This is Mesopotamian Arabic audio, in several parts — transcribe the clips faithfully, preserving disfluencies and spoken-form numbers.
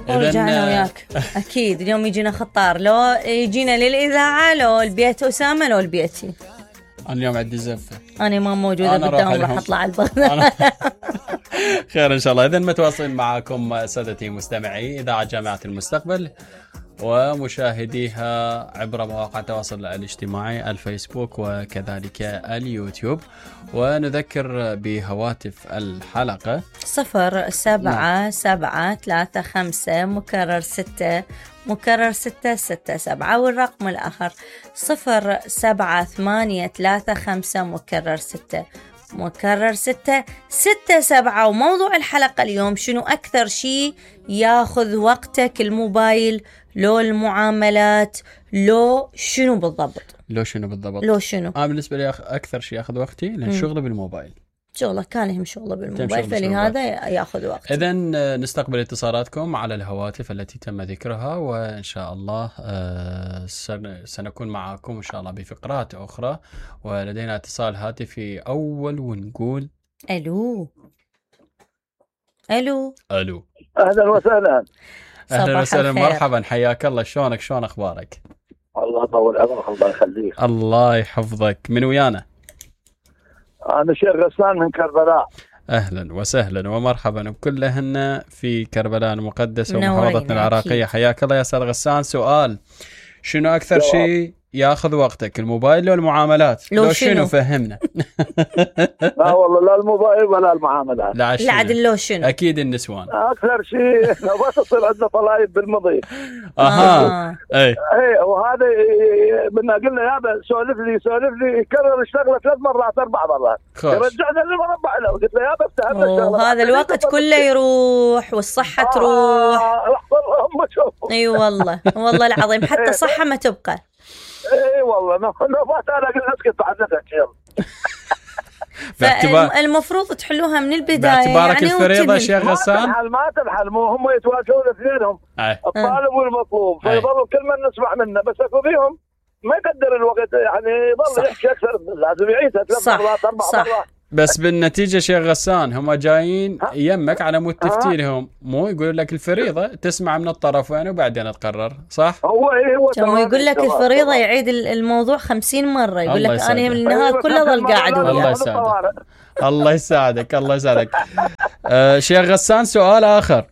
ورجعنا وياك. اكيد اليوم يجينا خطار، لو يجينا للاذاعه، لو البيت اسامه، لو البيتي. انا اليوم عندي زفه، انا ما موجوده بالدوام، راح اطلع البغداد. خير ان شاء الله. اذا متواصلين معكم سادتي مستمعي اذاعه جامعه المستقبل ومشاهديها عبر مواقع التواصل الاجتماعي الفيسبوك وكذلك اليوتيوب. ونذكر بهواتف الحلقة صفر سبعة سبعة ثلاثة خمسة مكرر ستة مكرر ستة ستة سبعة، والرقم الآخر صفر سبعة ثمانية ثلاثة خمسة مكرر ستة مكرر ستة ستة سبعة. وموضوع الحلقة اليوم شنو أكثر شيء ياخذ وقتك، الموبايل لو المعاملات لو شنو بالضبط؟ لو شنو بالضبط؟ لو شنو؟ أنا بالنسبة لي أكثر شيء ياخذ وقتي لأن شغله بالموبايل. شغله كان يهم شغله بالموبايل، فلهذا ياخذ وقت. إذن نستقبل اتصالاتكم على الهواتف التي تم ذكرها، وإن شاء الله سنكون معكم إن شاء الله بفقرات أخرى. ولدينا اتصال هاتفي أول ونقول ألو ألو ألو أهلا وسهلا. أهلا وسهلا، مرحبا، حياك الله. شلونك؟ شلون أخبارك؟ الله يطول عمرك، الله يخليك. الله يحفظك. من ويانا؟ أنا شيخ غسان من كربلاء. أهلا وسهلا ومرحبا بكلهن في كربلاء المقدسة ومحافظتنا العراقية. حياك الله يا أستاذ غسان. سؤال، شنو أكثر شيء ياخذ وقتك، الموبايل لو المعاملات؟ لو, لو شنو, شنو فهمنا. لا والله لا الموبايل ولا المعاملات. لا عدل لو شنو؟ أكيد النسوان أكثر شيء. بس تصير عندنا طلايب بالمضي. أها آه. أي أي وهذا بدنا قلنا يابا سولف لي سولف لي يكرر الشغلة ثلاث مرات أربع مرات رجعنا للمربع له، قلت له يابا افتهمنا الشغلة. هذا الوقت كله يروح والصحة آه تروح. آه اي والله والله العظيم حتى صحة ما تبقى. اي والله نوبات انا قلت اسكت بعد نفسك يلا. المفروض تحلوها من البدايه باعتبارك يعني الفريضه شيخ غسان. ما تنحل ما تنحل مو هم يتواجهون اثنينهم الطالب والمطلوب، فيضلوا كل من نسمع منه، بس اكو فيهم ما يقدر الوقت يعني يضل يحكي اكثر، لازم يعيدها ثلاث مرات اربع مرات. بس بالنتيجه شيخ غسان هم جايين يمك على مود تفتيلهم، مو يقول لك الفريضه تسمع من الطرفين وبعدين تقرر، صح؟ هو ايه هو كما يقول لك الفريضه يعيد الموضوع خمسين مره، يقول لك انا من النهار كله ظل قاعد وياه. الله يساعدك الله يساعدك الله يساعدك. آه شيخ غسان، سؤال اخر.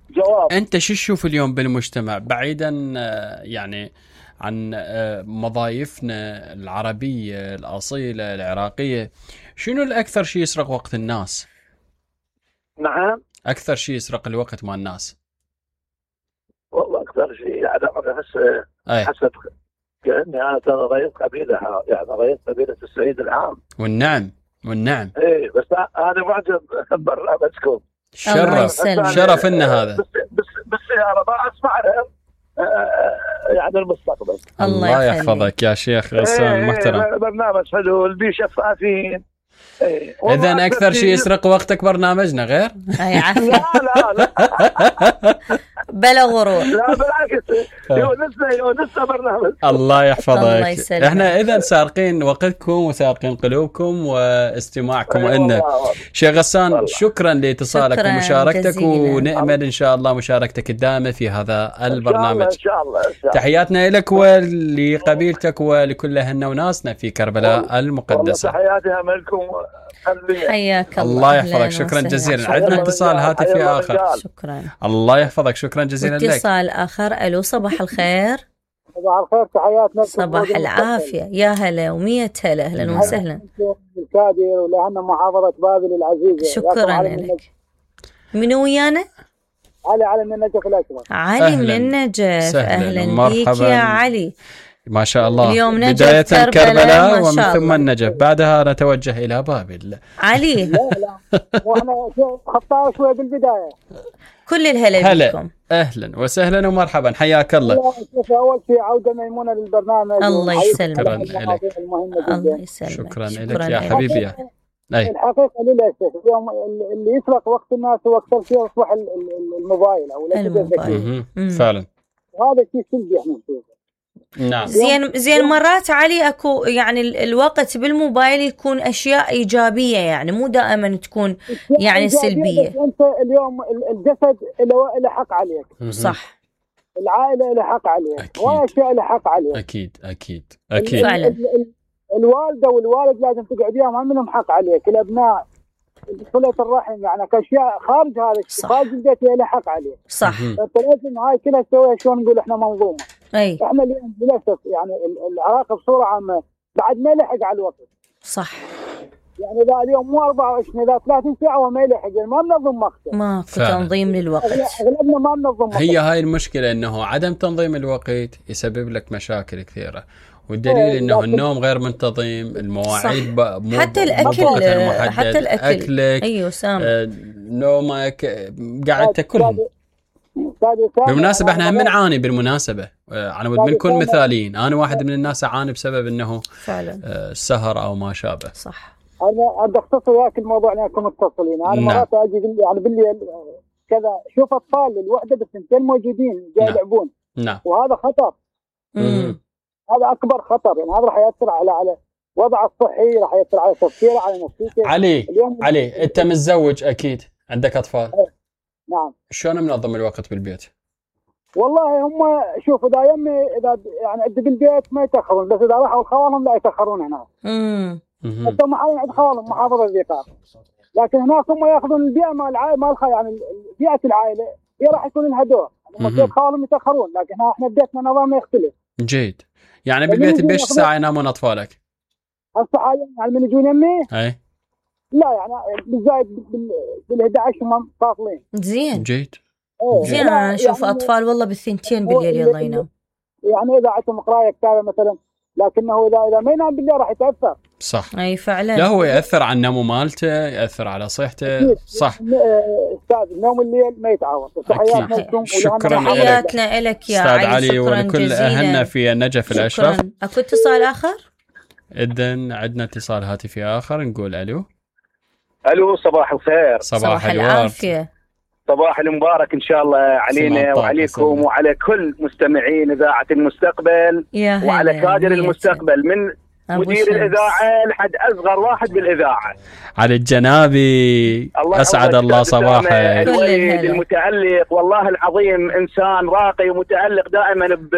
جواب. انت شو تشوف اليوم بالمجتمع بعيدا آه يعني عن آه مضايفنا العربيه الاصيله العراقيه، شنو الأكثر شيء يسرق وقت الناس؟ نعم. أكثر شيء يسرق الوقت مع الناس. والله أكثر شيء يعني أحس حسب كأني أنا ترى رئيس قبيلة، يعني رئيس قبيلة السعيد العام. والنعم والنعم. إيه بس أنا معجب برنامجكم. شرف شرف إنه هذا. بس بس بالسيارة ما أسمع يعني المستقبل. الله يحفظك يا شيخ غسان المحترم. إيه برنامج حلو اللي شفافين. إيه. إذن أكثر شيء يسرق وقتك برنامجنا غير؟ لا لا لا بلا غرور. لا بالعكس يونسنا يونسنا برنامج. الله يحفظك. احنا إذن سارقين وقتكم وسارقين قلوبكم واستماعكم لنا. شيخ غسان شكرا لاتصالك ومشاركتك، ونأمل إن شاء الله مشاركتك الدائمة في هذا البرنامج. إن شاء الله. إن شاء الله. تحياتنا لك ولقبيلتك ولكل أهلنا وناسنا في كربلاء المقدسة. تحياتي لكم. حياك الله. الله يحفظك. شكرا جزيلا. عندنا اتصال هاتفي آخر. شكرا. الله يحفظك. شكرا جزيلا لك. اتصال آخر. ألو صباح الخير. صباح الخير، تحياتنا. صباح العافية، يا هلا ومية هلا. أهلا وسهلا. الكادر ولأن محافظة بابل العزيزة. شكرا لك. منو ويانا؟ علي علي من النجف الأكبر. علي من النجف. أهلا بيك يا علي. ما شاء الله. اليوم نجف بداية كربلاء, كربلاء ومن ثم النجف، بعدها نتوجه إلى بابل. علي لا لا واحنا خطاء شوي بالبداية. كل الهلا بكم. أهلا وسهلا ومرحبا، حياك الله. أول شيء عودة ميمونة للبرنامج. الله يسلمك. شكرا لك. الله يسلمك. شكرا لك يا حبيبي. أي. الحقيقة للأسف اليوم اللي يسرق وقت الناس هو أكثر شيء يصبح الموبايل أو الموبايل. فعلا. وهذا شيء سلبي احنا نشوفه. نعم. زين زين مرات علي اكو يعني الوقت بالموبايل يكون اشياء ايجابيه، يعني مو دائما تكون يعني سلبيه. انت اليوم الجسد له حق عليك، صح، العائله له حق عليك، واشياء له حق عليك. اكيد اكيد اكيد فعلا. ال ال الوالده والوالد لازم تقعد وياهم، ما منهم حق عليك. الابناء، صلة الرحم، يعني كاشياء خارج هذا خارج البيت له حق عليه. صح. فانت لازم هاي كلها تسويها. شلون نقول احنا منظومه. اي احنا اليوم للاسف يعني العراق بصوره عامه بعد ما يلحق على الوقت. صح. يعني اذا اليوم مو أربعة وعشرين، اذا ثلاثين ساعه وما يلحق، يعني ما منظم وقته. ما في تنظيم للوقت. اغلبنا ما منظم وقته. هي هاي المشكله، انه عدم تنظيم الوقت يسبب لك مشاكل كثيره، والدليل انه النوم غير منتظم، المواعيد مو حتى الاكل محدد. حتى الاكل اكلك، ايوه سام، آه، نومك، قاعد تاكلهم. بالمناسبه احنا هم نعاني، بالمناسبه انا ودي نكون مثاليين. انا واحد من الناس اعاني بسبب انه فعلا السهر او ما شابه. صح. انا بدي اختصر وياك الموضوع لانكم متصلين. انا مرات اجي يعني بالليل كذا شوف اطفال الوحده بالثنتين موجودين جاي يلعبون. نعم. وهذا خطر. امم هذا اكبر خطر، يعني هذا راح ياثر على على وضعه الصحي، راح ياثر على تفكيره، على نفسيته. علي علي انت متزوج اكيد، عندك اطفال. نعم. شلون منظم الوقت بالبيت؟ والله هم شوف، اذا يمي اذا يعني عندي بالبيت ما يتاخرون، بس اذا راحوا خوالهم لا يتاخرون هناك. امم حتى هم حاليا عند خوالهم محافظه الذكار، لكن هناك هم ياخذون البيئه مال العائله مال يعني بيئه العائله هي راح يكون لها دور. هم خوالهم يتاخرون، لكن احنا بيتنا نظامنا يختلف. جيد. يعني بالبيت بيش ساعه ينامون اطفالك؟ هسه حاليا يعني من يجون يمي اي لا يعني بالزايد بال أحد عشر هم فاصلين. زين جيد. زين. انا اشوف يعني اطفال والله بالثنتين بالليل يلا ينام. يعني اذا عندهم قرايه كتابه مثلا، لكنه اذا اذا ما ينام بالليل راح يتاثر. صح. اي فعلا. لا هو ياثر على النوم مالته، ياثر على صحته. صح. استاذ نوم الليل ما يتعوض. تحياتنا لكم. شكرا تحياتنا لك يا علي. علي ولكل اهلنا في النجف الاشرف. اكو اتصال اخر؟ اذن عندنا اتصال هاتفي اخر، نقول الو. الو صباح الخير. صباح, صباح العافيه. صباح المبارك ان شاء الله علينا وعليكم وعلى كل مستمعين اذاعه المستقبل، وعلى كادر المستقبل من مدير الاذاعه لحد اصغر واحد بالاذاعه. علي الجنابي اسعد الله صباحك. الوليد المتالق، والله العظيم انسان راقي ومتالق دائما ب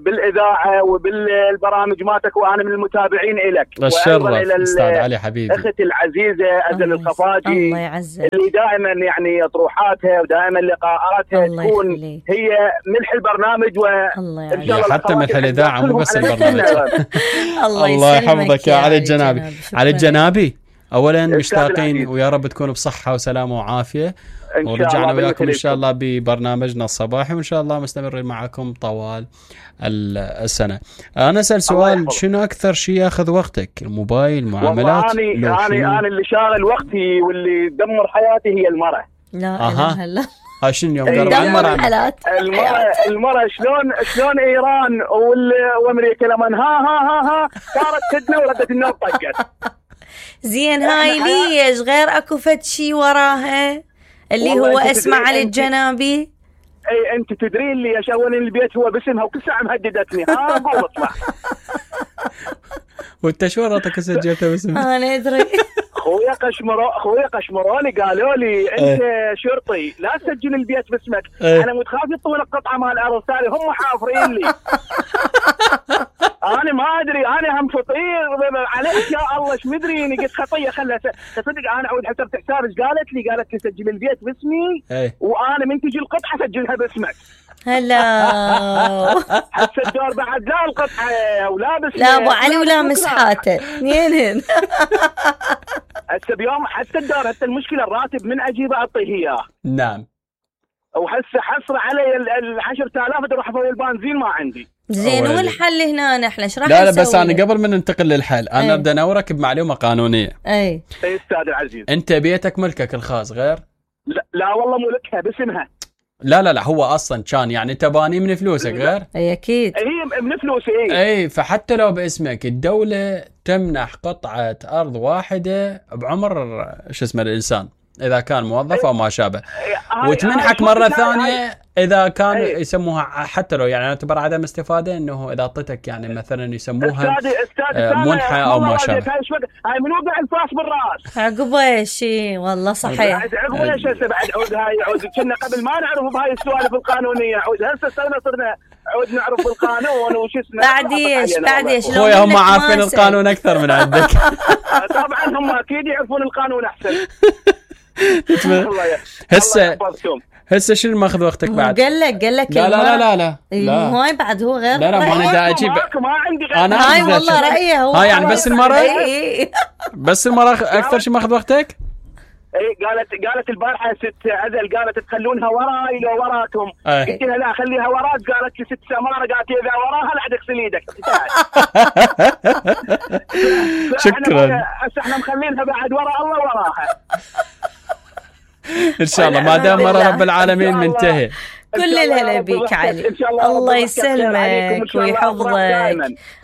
بالاذاعه وبالبرامج مالتك، وانا من المتابعين لك. الشرف استاذ علي حبيبي. اختي العزيزه ازل الخفاجي الله يعزك، اللي دائما يعني طروحاتها ودائما لقاءاتها تكون هي ملح البرنامج، وان شاء الله حتى ملح الاذاعه مو بس البرنامج. الله يحفظك يا علي الجنابي. علي الجنابي اولا مشتاقين ويا رب تكونوا بصحه وسلامه وعافيه، ورجعنا وياكم ان شاء الله ببرنامجنا الصباحي، وان شاء الله مستمرين معكم طوال السنه. انا اسال سؤال، شنو اكثر شيء ياخذ وقتك؟ الموبايل، معاملات؟ انا انا انا اللي شاغل وقتي واللي يدمر حياتي هي المراه. لا اله الا ها شنو اليوم قالوا عن المراه؟ المراه المراه شلون شلون ايران وامريكا لما ها ها ها ها صارت تدنا وردت النوم طقت. زين هاي ليش غير اكو فد شيء وراها اللي هو اسمه علي الجنابي؟ اي انت تدرين لي يا شاون البيت هو باسمها وكل ساعه مهددتني. ها قول اطلع. وانت شو راتك سجلتها باسمها؟ انا ادري. خويا قشمرو خويا قشمروني قالوا لي انت شرطي لا تسجل البيت باسمك. انا متخاف يطول القطعه مال الارض ثاني، هم حافرين لي. انا ما ادري، انا هم فطير عليك يا الله ايش مدريني. قلت خطيه خلها تصدق. انا اعود حسبت حساب ايش قالت لي؟ قالت لي سجل البيت باسمي وانا من تجي القطعه سجلها باسمك. هلا حتى الدور بعد لا القطعه ولا بس لا ابو علي ولا مسحاته اثنين. هسه بيوم حتى الدور، حتى المشكله الراتب من اجيبه اعطيه اياه. نعم. وحسه حصر علي ال عشرة آلاف اروح افوي البنزين ما عندي. زين والحل هنا نحن ايش راح نسوي؟ لا لا بس انا قبل ما ننتقل للحل انا بدي انورك بمعلومه قانونيه. اي اي استاذ العزيز. انت بيتك ملكك الخاص غير؟ لا, لا والله ملكها باسمها. لا لا لا هو اصلا كان يعني انت باني من فلوسك غير؟ اي اكيد. هي من فلوسي. اي اي فحتى لو باسمك الدوله تمنح قطعه ارض واحده بعمر شو اسمه الانسان اذا كان موظف او ما شابه، وتمنحك مره ثانيه اذا كان هاي. يسموها حتى لو يعني اعتبر عدم استفاده، انه اذا اعطيتك يعني مثلا يسموها منحه او ما شابه. هاي من وقع الفاس بالراس عقبه شيء والله صحيح. عقبه ايش هسه بعد عود هاي عود كنا قبل ما نعرف بهاي السوالف القانونيه، عود هسه صرنا صرنا عود نعرف بالقانون وش اسمه. بعد ايش بعد ايش خويا هم عارفين القانون اكثر من عندك. طبعا هم اكيد يعرفون القانون احسن. هسه هسه شنو ماخذ وقتك بعد؟ قال لك قال لك لا لا لا لا لا هاي بعد هو غير. لا لا ما انا دا اجيب، ما عندي غير انا هاي والله رايه هو. هاي يعني بس المره بس المره اكثر شيء ماخذ وقتك. اي قالت قالت البارحه ست عزل، قالت تخلونها وراي لو وراكم. قلت لها لا خليها وراك. قالت لي ست سماره، قالت اذا وراها لا اغسل ايدك. شكرا. هسه احنا مخلينها بعد ورا الله وراها ان شاء الله ما دام مرة رب العالمين منتهي. كل الهلا بيك علي، الله يسلمك ويحفظك.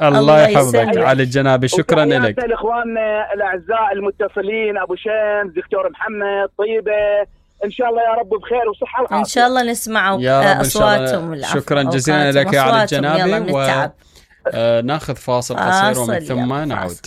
الله يحفظك علي الجنابي، شكرا لك. الاخوان الاعزاء المتصلين ابو شمس، دكتور محمد، طيبه، ان شاء الله يا رب بخير وصحه وعافيه. ان شاء الله نسمع اصواتهم. شكرا جزيلا لك يا علي الجنابي، وناخذ فاصل قصير ومن ثم نعود.